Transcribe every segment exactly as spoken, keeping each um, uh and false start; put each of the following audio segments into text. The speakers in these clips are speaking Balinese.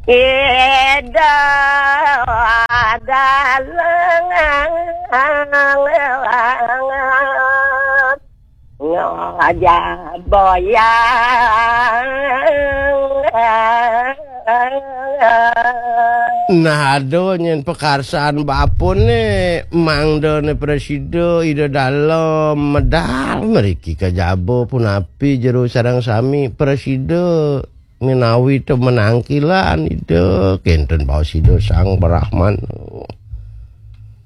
Ida dalang ngajak boyang. Nah, aduh, nyen pekarsaan bapun ne, mangda ne presida, ida dalem medal mriki ka jaba punapi jero sareng sami presida. Menawi to menangkilan ida kenten baos ida Sang Brahman.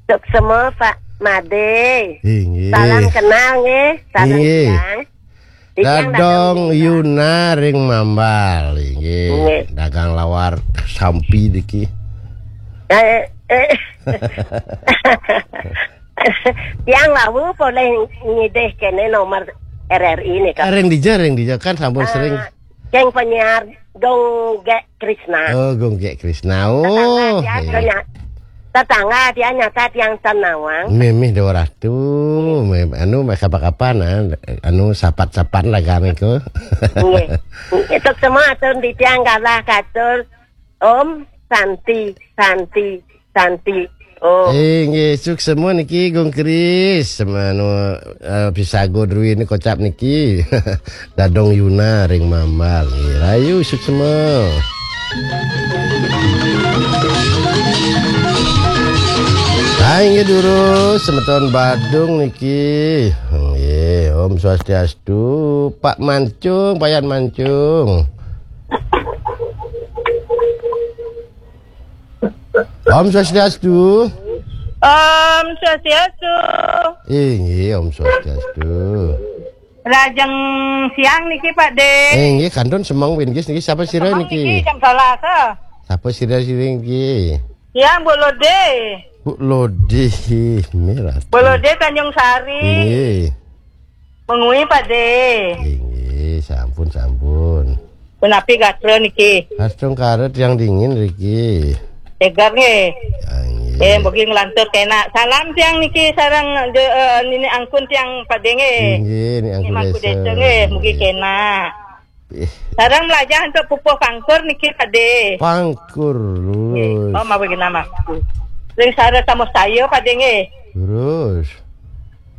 Suksma, Pak Made. Inggih. Salam kenal nggih. Salam Inggih. Kenal. Dadong Yuna ring Mambal, inggih. Inggih. Dagang lawar sampi niki. Eh, eh. Tiang wau polih ngidih kene nomor R R I nika. Ring dija, ring dija kan sampun sering. Ah, Keng penyiar Gong Gek Krisna. Oh, Gong Gek Krisna. Oh, tetangga dia, iya. Tetangga dia nyata tiang tan nawang. Mimih Dewa Ratu, mim-, anu, kapan-kapan, ah, anu, sapat-sapan lah kami ku. Nggih. Itu semua atur di tiang galah katur. Om Santi, Santi, Santi. Oh. Eh, nggih, suksma niki, Gong Kris. Semanu, eh, pisago druwi ni kocap niki. Dadong Yuna ring Mambal. Nggih, rayu suksma. Hai, nggih, durus, semeton Badung niki. Nggih, Om Swastiastu, Pak Mancung, Payan Mancung. Om Swastiastu. Om Swastiastu. Inggih, Om Swastiastu. Lajeng siang niki, Pak De. Inggih, kantun semeng winggis niki, sapa sira niki? Niki jam Selasa. Sapa sira sira niki? Siang, Bu Lode. Bu Lode, mirah. Bu Lode Tanjung Sari. Inggih. Mengui, Pak De. Inggih, sampun, sampun. Punapi gatra niki? Astungkara tiang dingin riki. Seger nggih. Ya, nggih. Eh, mugi nglantur kenak. Salam tiang niki sareng de-, eh, Nini Angkun tiang Pak De nggih. Inggih, Ni Angkun Mangku Desa. Desa nggih, mugi kenak. Ih. Sareng mlajah untuk pupuh pangkur niki Pak De. Pangkur, nggih. Lurus. Oh, mawi genah Mangku. Ring sareng tamu saya Pak De nggih. Lurus.